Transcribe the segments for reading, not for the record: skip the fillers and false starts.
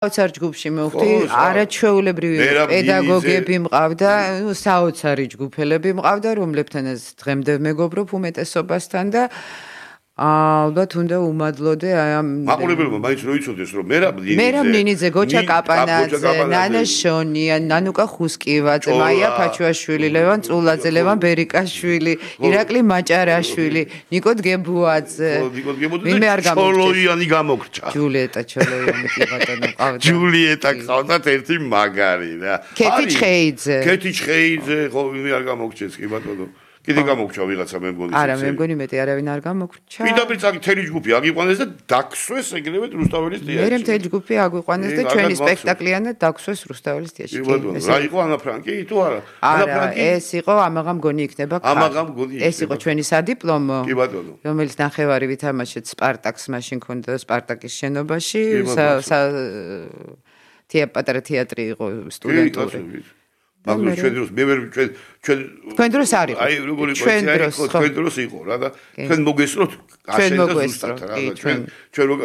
საოცარ ჯგუფში მოვხდი, არაჩვეულებრივი პედაგოგები მყავდა, საოცარი ჯგუფელები მყავდა, რომლებთანაც დღემდე მეგობრობ უმეტესობასთან და ალბათ უნდა უმადლოდე აი ამ მაყურებელმა მაინც რო იცოდეს რომ მერაბ ნინიძე, გოჩა კაპანაძე, ნანა შონია, ნანუკა ხუსკივაძე, მაია ფაჩუაშვილი, ლევან წულაძე, ლევან ბერიკაშვილი, ირაკლი მაჭარაშვილი, ნიკო დგებუაძე. ვინმე არ გამოგჭეს. ჩოლოიანი გამოგჭა. ჯულიეტა ჩოლოიანი კი ბატონო ყავდა. ჯულიეტა ყავდათ ერთი მაგარი რა. ქეთი ჩხეიძე. ქეთი ჩხეიძე, ხო ვინმე არ გამოგჭეს კი ბატონო. კიდე გამოგჭა ვიღაცა მე მგონი. არა, მე მგონი მეტი არავინ არ გამოგჭა. პირდაპირ თელი ჯგუფი აგიყვანეს და დაქსვეს ეგრევე რუსთაველის თეატრში. მე მთელი ჯგუფი აგვიყვანეს და ჩვენი სპექტაკლიანად დაქსვეს რუსთაველის თეატრში. რა იყო ანა ფრანკი თუ არა? არა, ეს იყო ამაღამ გონი იქნება. ამაღამ გონი. ეს იყო ჩვენი სადიპლომო. კი ბატონო. რომელიც ნახევარი ვითამაშეთ სპარტაკს მაშინ ქონდა სპარტაკის შენობაში. პატარა თეატრი იყო სტუდენტური. მაგრამ ჩვენ დროს მე ვერ ჩვენ დროს არ იყო. აი როგორი იყო ჩვენ დროს იყო რა და ჩვენ მოგესწროთ აშენდა ზუსტად რა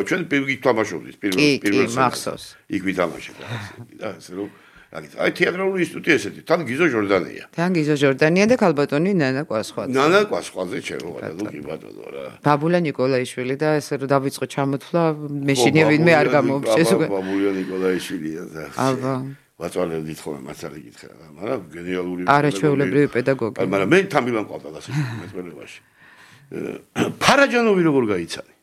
ჩვენ პირიქით თამაშობდით პირველ მახსოვს იქ ვითამაშეთ და ასე რომ აი თეატრალური ინსტიტუტი ესეთი თან გიზო ჟორდანია და ქალბატონი ნანა კვასხვაძე ჩემო ბატონო კი ბატონო რა ბაბულა ნიკოლაიშვილი და ესე რომ დავიწყო ჩამოთვლა მეშინია ვინმე არ გამოუჩეს ბაბულა ნიკოლაიშვილია და აბა ვაწვალებდით ხოლმე მასალი გითხრა რა მაგრამ გენიალური არაჩვეულებრივი პედაგოგი მაგრამ მე თამბილან მყავდა და მეწველებაში ფარაჯანოვი როგორ გაიცანი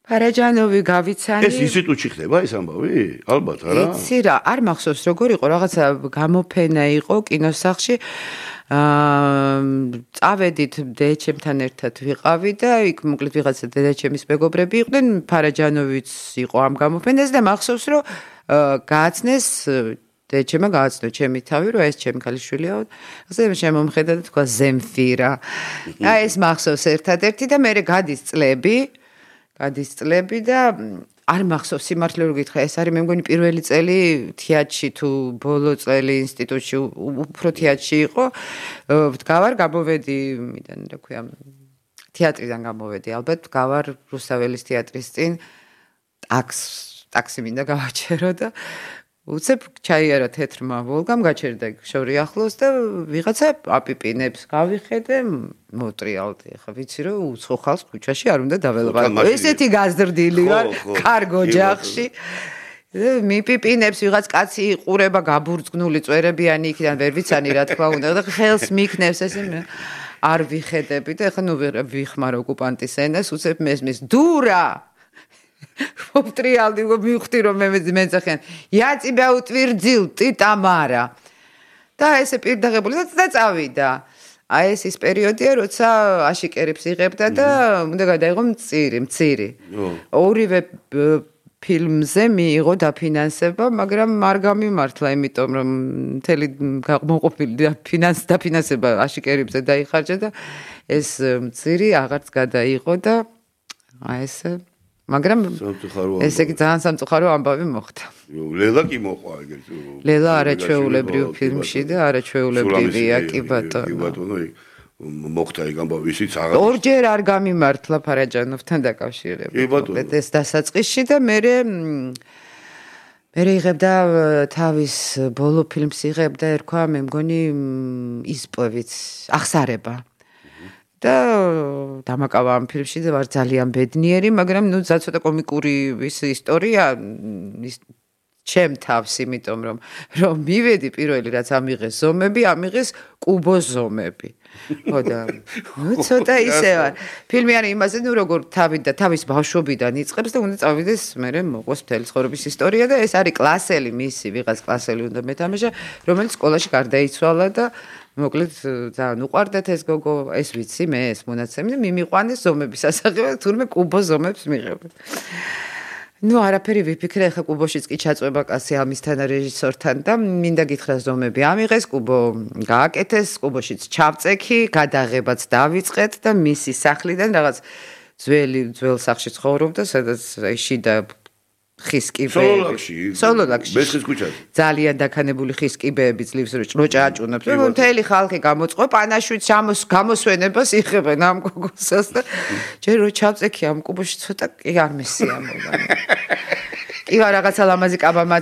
ფარაჯანოვი გავიცანი ეს ინსტიტუტში ხდება ეს ამბავი ალბათ არა იცი რა არ მახსოვს როგორ იყო რაღაცა გამოფენა იყო კინოსახლში წავედით დედაჩემთან ერთად ვიყავი და იქ მოკლედ ვიღაცა დედაჩემის მეგობრები იყვნენ ფარაჯანოვიც იყო ამ გამოფენაზე და მახსოვს რომ გააცნეს დედაჩემა გააცნო ჩემი თავი რომ ეს ჩემი ქალიშვილია ასე შემომხედა და თქვა ზემფირა აი ეს მახსოვს ერთადერთი და მე გადის წლები და არ მახსოვს სიმართლე რომ გითხრა ეს არის მე მგონი პირველი წელი თეატრში თუ ბოლო წელი ინსტიტუტში უფრო თეატრში იყო ვდგავარ გამოვედი მიდან რა ქვია თეატრიდან გამოვედი ალბათ ვდგავარ რუსთაველის თეატრის წინ ტაქსი მინდა გავაჩერო და უცებ ჩაიარა თეთრმა ვოლგამ გაჩერდა შორი ახლოს და ვიღაცა აპიპინებს გავიხედე მოტრიალდი ახლა ვიცი რომ უცხო ხალხს ქუჩაში არ უნდა დაველაპარაკო ესეთი გაზრდილი ვარ კარგო ჯახში მიპიპინებს ვიღაც კაცი იყურება გაბურძგნული წვერებიანი იქიდან ვერ ვიცანი რა თქმა უნდა და ხელს მიქნევს ესე არ ვიხედები და ახლა ნუ ვიხმარ ოკუპანტის ენას უცებ მესმის დურა მოვტრიალდი მივხვდი რომ მე მეძახიან იაწიბა უტვირძილ ტიტამარა და ესე პირდაღებული და წავიდა აი ეს ის პერიოდია როცა აშიკერებს იღებდა და უნდა გადაიღო მცირი ორივე ფილმზე მიიღო დაფინანსება მაგრამ არ გამიმართლა იმიტომ რომ მთელი მოყოფილი დაფინანსება აშიკერებზე დაიხარჯა და ეს მცირი აღარც გადაიღო და აი ესე მაგრამ ესე იგი ძალიან სამწუხარო ამბავი მოხდა. ლელა კი მოყვა ეგრეთ. ლელა არაჩვეულებრივ ფილმში და არაჩვეულებრივია კი ბატონო. კი ბატონო მოხდა ეგ ამბავი ისიც აღარ. ორჯერ არ გამიმართლა ფარაჯანოვთან დაკავშირებით. კი ბატონო. ეს დასაწყისში და მე იღებდა თავის ბოლო ფილმს იღებდა ერქვა მე მგონი ისპოვიც ახსარება. და დამაკავა ამ ფილმში და ვარ ძალიან ბედნიერი, მაგრამ ნუ ცოტა კომიკური ის ისტორია ჩემ თავს, იმიტომ რომ მივედი პირველი რაც ამიღეს ზომები, ამიღეს კუბოს ზომები. ხო და ნუ ცოტა ისე ვარ. ფილმი არის იმაზე, ნუ როგორ თავის ბავშვობიდან იწყებს და უნდა წავიდეს მერე მოყვეს მთელი ცხოვრების ისტორია და ეს არის კლასელი მისი, ვიღაც კლასელი უნდა მეთამაშა, რომელიც სკოლაში გარდაიცვალა და მოკლედ ძალიან უყვარდათ ეს გოგო, ეს ვიცი მე ეს მონაცემი და მიმიყვანეს ზომების ასაღებად, თურმე კუბო ზომებს მიღებ. ნუ არაფერი ვიფიქრე, ახლა კუბოშიც კი ჩაწვება კაცი ამისთან რეჟისორთან და მინდა გითხრა ზომები ამიღეს, კუბო გააკეთეს, კუბოშიც ჩავწექი, გადაღებაც დავიწყეთ და მისი სახლიდან რაღაც ძველ სახლში ცხოვრობდა, სადაც შიდა ხის კიბეები. სოლოლაკში. მესხის ქუჩაზე. ძალიან დაქანებული ხის კიბეები ძლივს რო ჭაჭუნებს. მთელი ხალხი გამოწყო პანაშვიდს გამოსვენებას იღებენ ამ გოგოსას და ჯერ რო ჩავწექი ამ კუბოში ცოტა კი არ მესიამობა. იღა რაღაცა ლამაზი კაბამაც